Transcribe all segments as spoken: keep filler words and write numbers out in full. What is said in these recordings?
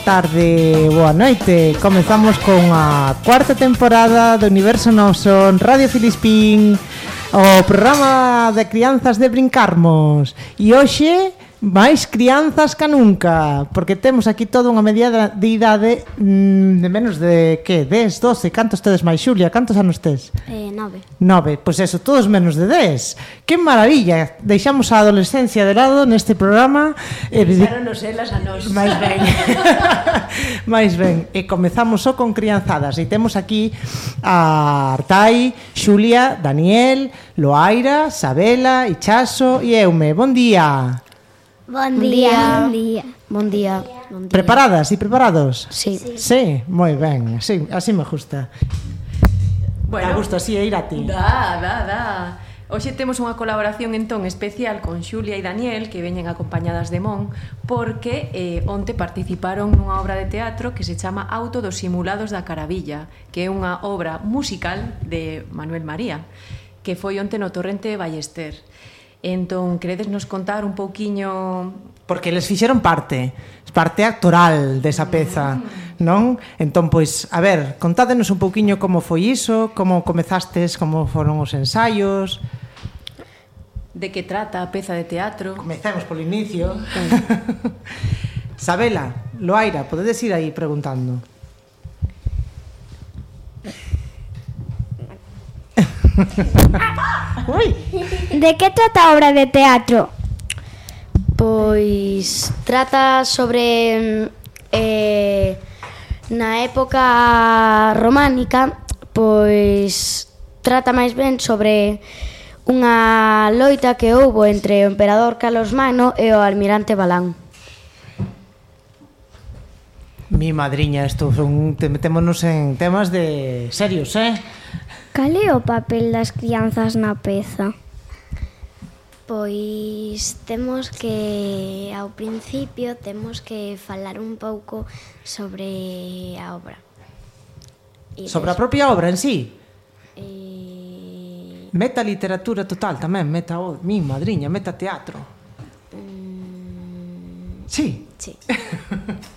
tarde, boa noite. Comezamos con a cuarta temporada do Universo Noso en Radio Filispín, o programa de crianzas de brincarmos. E hoxe máis crianzas ca nunca, porque temos aquí toda unha media de idade mmm, de menos de, que, dez, doce, cantos tedes máis, Xulia? Cantos anos tes? Eh, nove. Nove, pois eso, todos menos de dez. Que maravilla, deixamos a adolescencia de lado neste programa. Deixáronos elas a nós. Mais ben. Mais ben, e comezamos só con crianzadas, e temos aquí a Artai, Xulia, Daniel, Loaira, Sabela, Ichaso e Eume. Bon día. Bon día. Bon día. Bon día. Bon día. Preparadas e preparados? Sí. Sí, sí, moi ben, sí, así me gusta. Bueno, me gusta así, ir a ti. Da, da, da. Hoxe temos unha colaboración entón especial con Xulia e Daniel, que veñen acompañadas de Mon, porque eh, onte participaron nunha obra de teatro que se chama Auto dos Simulados da Caravilla, que é unha obra musical de Manuel María, que foi onte no Torrente de Ballester. Entón, queredes nos contar un pouquiño... Porque eles fixeron parte, parte actoral desa peza, non? Entón, pois, a ver, contádenos un pouquiño como foi iso, como comezastes, como foron os ensaios... De que trata a peza de teatro? Comecemos polo inicio. Sabela, Loaira, podedes ir aí preguntando. Ui. De que trata a obra de teatro? Pois trata sobre eh, na época románica, pois trata máis ben sobre unha loita que houbo entre o emperador Carlomagno e o almirante Balán. Mi madriña, isto son, te metémonos en temas de serios, eh? Cal é o papel das crianzas na peza? Pois temos que, ao principio, temos que falar un pouco sobre a obra. E sobre a propia obra en sí? E... Meta literatura total tamén, meta, oh, mi madriña, meta teatro. Mm... Sí. Sí.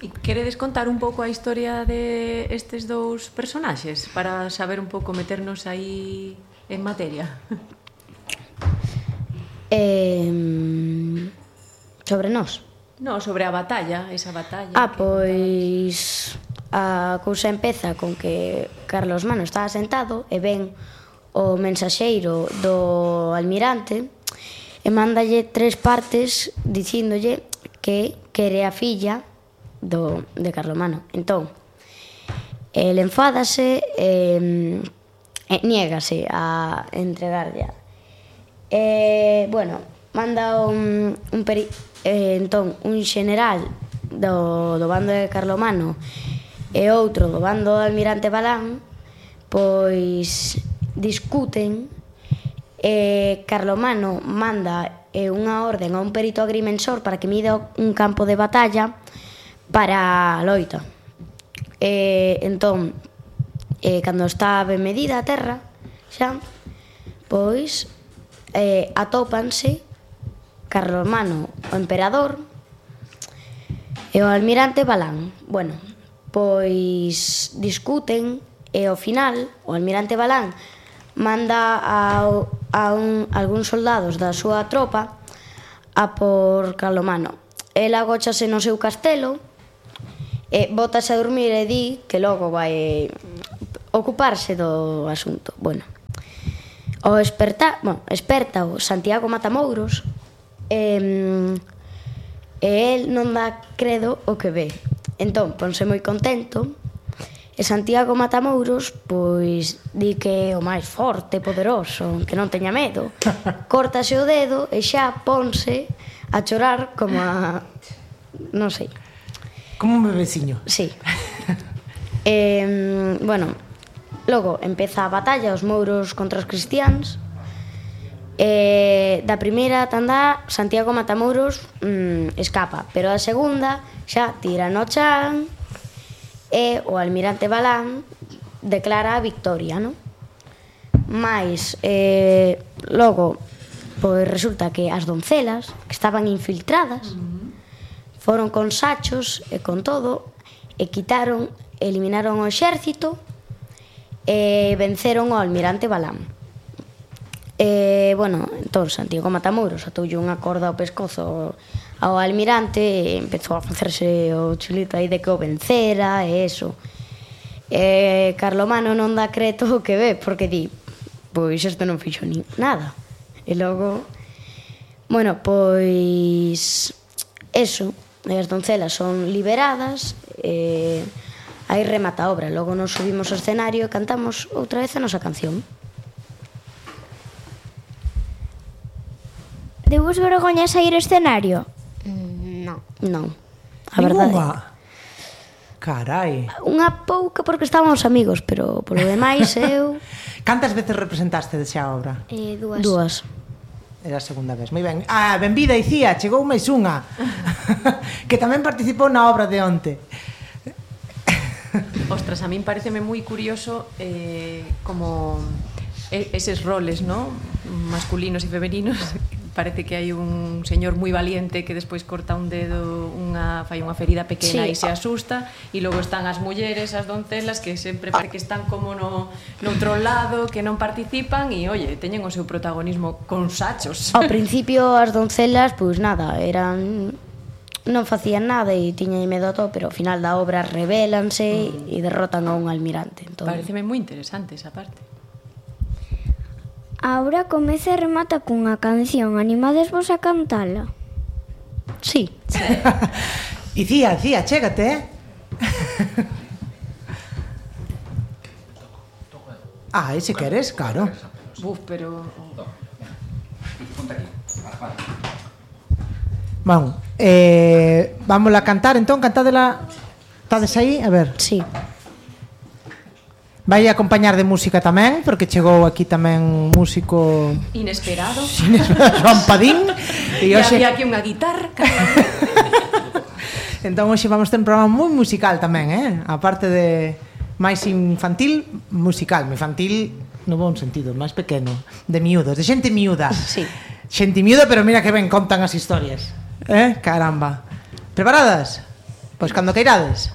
E queredes contar un pouco a historia de estes dous personaxes para saber un pouco, meternos aí en materia? Eh, sobre nós? No, sobre a batalla, esa batalla. Ah, pois a cousa empeza con que Carlomagno estaba sentado e ven o mensaxeiro do almirante e mándalle tres partes dicíndolle que quere a filla do, de Carlomagno. Entón, el enfádase e, e niégase a entregarlle. E, bueno, manda un, un peri, eh, entón, un xeneral do, do bando de Carlomagno e outro do bando do almirante Balán, pois discuten e Carlomagno manda e unha orden a un perito agrimensor para que mida un campo de batalla para a loita. E, entón, e, cando está ben medida a terra, xa, pois, eh, atópanse Carlomagno, o emperador, e o almirante Balán. Bueno, pois discuten e ao final o almirante Balán manda a, a un, algúns soldados da súa tropa a por Carlomagno. El agóchase no seu castelo e bótase a dormir e di que logo vai ocuparse do asunto. Bueno, o esperta, bueno, esperta o Santiago Matamouros e, e el non dá credo o que ve. Entón, ponse moi contento. E Santiago Matamouros, pois, di que é o máis forte, poderoso, que non teña medo. Córtase o dedo e xa ponse a chorar como a... non sei. Como un bebeciño. Sí. E, bueno, logo empeza a batalla, os mouros contra os cristiáns. E da primeira tanda, Santiago Matamouros mmm, escapa, pero a segunda xa tira no chan e o almirante Balán declara a victoria, non? Mais, eh, logo, pois resulta que as doncelas, que estaban infiltradas, foron con sachos e con todo, e quitaron, eliminaron o exército e venceron ao almirante Balam. E, bueno, entón Santiago Matamoros atoulle unha corda ao pescozo ao almirante e empezou a facerse o chulito aí de que o vencera e eso. E Carlomano non dá creto o que ve, porque di, pois isto non fixo ni nada. E logo, bueno, pois eso, as doncelas son liberadas e aí remata a obra. Logo nos subimos ao escenario e cantamos outra vez a nosa canción. Debos vergoña sair ao escenario? Mm, non. Non, a verdade. Ninguna. Carai. Unha pouca porque estábamos amigos, pero polo demais eu... Cantas veces representaste xa a obra? Eh, dúas. Dúas. Era a segunda vez. Moi ben. Ah, benvida, Icía, chegou máis unha. Que tamén participou na obra de onte. Ostras, a min pareceme moi curioso eh, como eses roles, ¿no? Masculinos e femeninos. Parece que hai un señor moi valiente que despois corta un dedo, unha fai unha ferida pequena Sí. e se asusta, e logo están as mulleres, as doncelas que sempre parece que están como no noutro lado, que non participan e, oye, teñen o seu protagonismo con sachos. Ao principio as doncelas, pois nada, eran non facían nada e tiñan medo a todo, pero ao final da obra revélanse mm. e derrotan a un almirante. Entón... Pareceme moi interesante esa parte. A obra comeza e remata cunha canción. Animades vos a cantala? Sí. Icía, Icía, chégate, eh? Ah, ese queres, claro. Buf, pero... Bueno, eh, vamos a cantar, entón, cantádela. Estades aí? A ver. Sí. Vai acompañar de música tamén, porque chegou aquí tamén músico Inesperado. Joan Padín. E hoxe... había aquí unha guitarra. Entón hoxe vamos ter un programa moi musical tamén, eh? A parte de máis infantil, musical. Infantil no bon sentido, máis pequeno, de miúdos, de xente miúda. Sí. Xente miúda, pero mira que ben contan as historias. Eh? Caramba. Preparadas? Pois cando queirades.